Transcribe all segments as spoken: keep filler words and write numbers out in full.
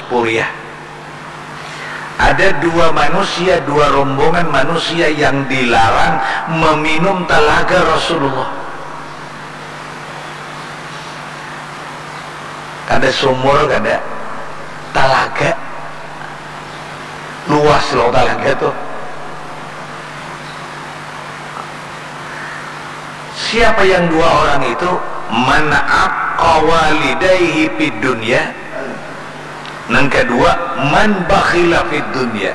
Puriah. Ada dua manusia, dua rombongan manusia yang dilarang meminum talaga Rasulullah. Kada sumur, kada talaga. Luas loh talaga tuh. Siapa yang dua orang itu? Man aqqa walidaihi fid dunya. Nang kedua, man bakhila fid dunya.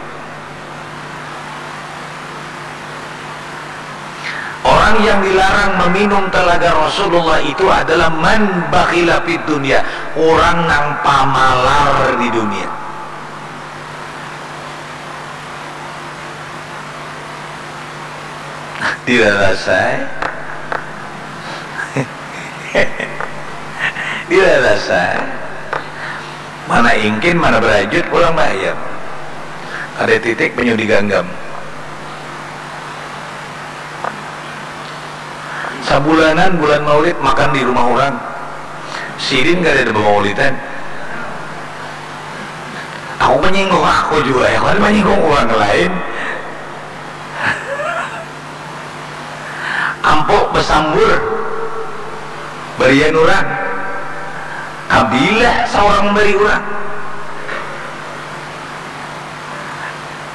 Orang yang dilarang meminum talaga Rasulullah itu adalah man bakhila fid dunya, orang nang pamalar di dunia. Dirarasai. Dirarasai. Mana ingkin, mana berajut pulang bayam. Ada titik penyu diganggam. Sabulanan bulan maulid makan di rumah orang. Sidin kada ada bamaulidan. Aku menyinggung aku juga ya, kan menyinggung orang lain. Ampo basambur barian urang, kabilah saurang bari urang.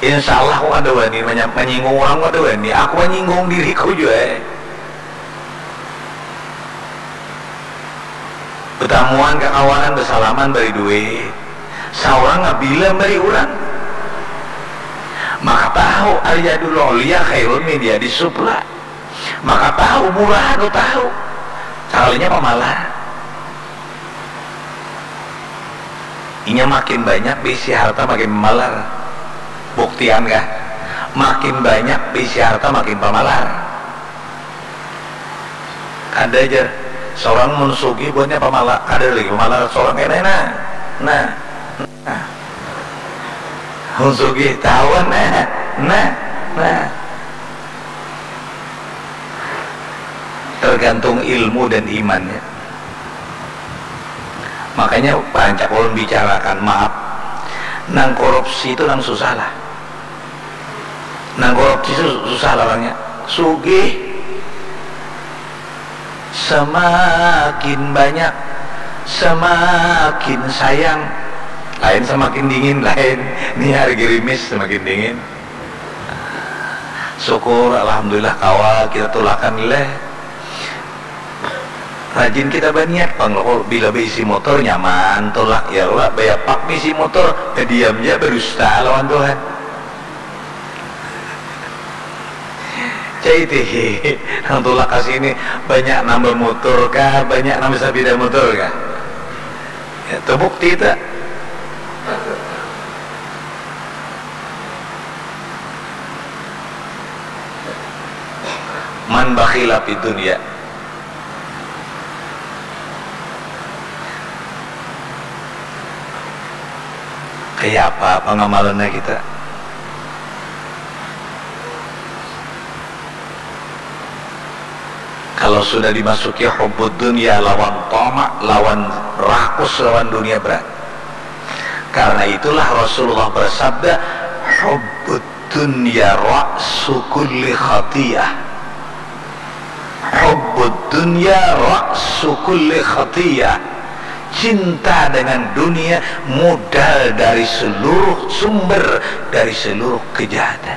Insya Allah aku kada wani manya- manyinggung urang, kada wani. Aku manyinggung diriku jua eh. Batamuan kakawanan, basalaman, bari duit. Saurang ngabila mari urang. Maka tahu al-yadul ulya khairun min yadis sufla. Maka tahu murah tu tahu. Sakalinya pamalar. Inya makin banyak bisi harta makin pamalar. Buktian kah? Makin banyak bisi harta makin pamalar. Kada jar seorang mun sugih buatnya pamala, kada lagi pamala seorang kena nah nah nah mun sugih tahuan nah nah nah tergantung ilmu dan imannya. Makanya pancak ulun bicarakan maaf, nang korupsi itu nang susah lah. Nang korupsi su- susah larangnya. Sugih semakin banyak, semakin sayang. Lain semakin dingin, lain. Ni hari gerimis semakin dingin. Syukur, alhamdulillah kawa kita tulakan leh. Rajin kita baniat pang lo, bila baisi motor nyaman tulak ya lah, bayapak baisi motor, badiam ja badusta lawan Tuhan. Cai tihi nang tulak ka sini banyak nambah motor kah, banyak nambah sapida motor kah? Ya, terbukti tak? Man bakhila fid dunya. Kaya apa pangamalannya kita? Kalau sudah dimasuki hubbud dunya lawan tama, lawan rakus lawan dunia berat. Karena itulah Rasulullah bersabda, hubbud dunya ra'su kulli khatiyah. Hubbud dunya ra'su kulli khatiyah. Cinta dengan dunia modal dari seluruh sumber dari seluruh kejahatan.